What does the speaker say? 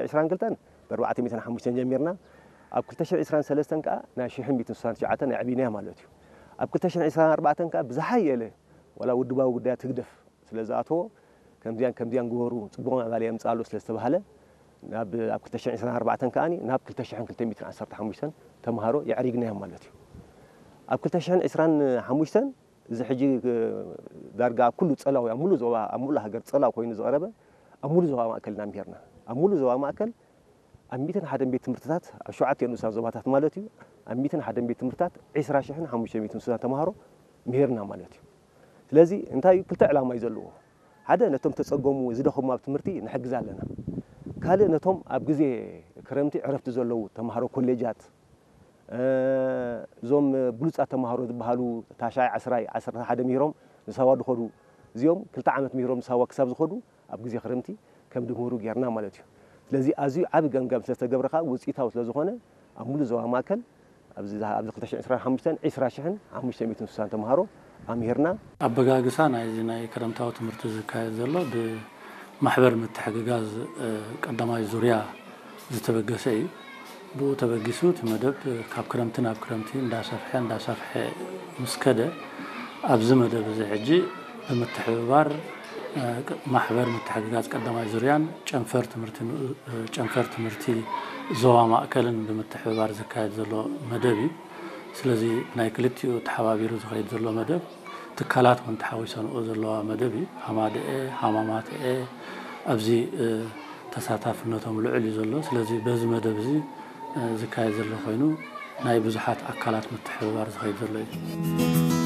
ዕስራን ክልተን ብ ኣርባዕተ ሚእትን ሓሙሽተን ጀሚርና፣ ኣብ ክልተ ሽሕን ዕስራን ሰለስተን ከኣ ናይ ሽሕን ሚእትን ስሳን ትሽዓተን ኣዕቢናያ ማለት እዩ። ኣብ ክልተ ሽሕን ዕስራን ኣርባዕተን ከኣ ብዝሓየለ ዋላ ውድባዊ ጉዳያት ህግደፍ ስለ ዝኣተዎ፣ ከምዚያን ከምዚያን ግበሩ፣ ጽቡቕ ምዕባለ የምጽኣሉ ስለ ዝተባህለ፣ ናብ፣ ኣብ ክልተ ሽሕን ዕስራን ኣርባዕተን ከኣ ናብ ክልተ ሽሕን ክልተ ሚእትን ዓሰርተ ሓሙሽተን ተምሃሮ የዕሪግናዮም ማለት እዩ። ኣብ ክልተ ሽሕን ዕስራን ሓሙሽተን እዚ ሕጂ እ፣ ዳርጋ ኣብ ኩሉ ጸላው፣ ኣብ ሙሉእ ዞባ፣ ኣብ ሙሉእ ሃገር ጸላው ኮይኑ ዝቐረበ ኣብ ሙሉእ ዞባ ማእከል ኢና ምሂርና። ኣብ ሙሉእ ዞባ ማእከል ኣብ ሚእትን ሓደን ቤት ትምህርትታት፣ ኣብ ሸውዓተ ንኡሳን ዞባታት ማለት እዩ፣ ኣብ ሚእትን ሓደን ቤት ትምህርትታት ዕስራ ሽሕን ሓሙሽተ ሚእትን ንኡሳን ተምሃሮ ምሂርና ማለት እዩ። ስለዚ እንታይ እዩ? ክልተ ዕላማ እዩ ዘለዎ። ሓደ፣ ነቶም ተጸገሙ ዝደኸሙ ኣብ ትምህርቲ ንሕግዝ ኣለና። ካልእ፣ ነቶም ኣብ ግዜ ክረምቲ ዕረፍቲ ዘለዉ ተምሃሮ ኮሌጃት፣ እ፣ እዞም ብሉጻት ተምሃሮ ዝበሃሉ ታሽዓይ፣ ዓስራይ፣ ዓሰርተ ሓደ ምሂሮም ንሳዋ ዝኸዱ፣ እዚኦም ክልተ ዓመት ምሂሮም ንሳዋ ክሳብ ዝኸዱ ኣብ ግዜ ክረምቲ ከም ድምህሩ ጌርና ማለት እዩ። ስለዚ ኣዝዩ ዓቢ ገምጋም ስለ ዝተገብረ ከኣ ውጽኢታዊ ስለ ዝኾነ ኣብ ሙሉእ ዞባ ማእከል ኣብዚ፣ ኣብዚ ክልተ ሽሕን ዕስራን ሓሙሽተን፣ ዕስራ ሽሕን ሓሙሽተ ሚእትን ስሳን ተምሃሮ ኣምሂርና። ኣበጋግሳ ናይዚ ናይ ክረምታዊ ትምህርቲ ዝካየድ ዘሎ ብማሕበር ምትሕግጋዝ፣ እ፣ ቀዳማይ ዙርያ ዝተበገሰ እዩ። ብኡ ተበጊሱ እቲ መደብ ካብ ክረምቲ ናብ ክረምቲ እንዳሰፍሐ እንዳሰፍሐ ምስ ከደ፣ ኣብዚ መደብ እዚ ሕጂ ብምትሕብባር፣ እ፣ ማሕበር ምትሕግጋዝ ቀዳማይ ዙርያን ጨንፈር ትምህርቲ፣ እ፣ ጨንፈር ትምህርቲ ዞባ ማእከልን ብምትሕብባር ዝካየድ ዘሎ መደብ እዩ። ስለዚ ናይ ክልቲኡ ተሓባቢሩ ዝኸይድ ዘሎ መደብ፣ ትካላት እውን ተሓዊሰንኦ ዘለዋ መደብ እዩ። ሃማደኤ፣ ሃማማተኤ ኣብዚ፣ እ፣ ተሳታፍነቶም ልዑል እዩ ዘሎ። ስለዚ በዚ መደብ እዚ፣ እ፣ ዝካየድ ዘሎ ኮይኑ ናይ ብዙሓት ኣካላት ምትሕብባር ዝኸይድ ዘሎ እዩ።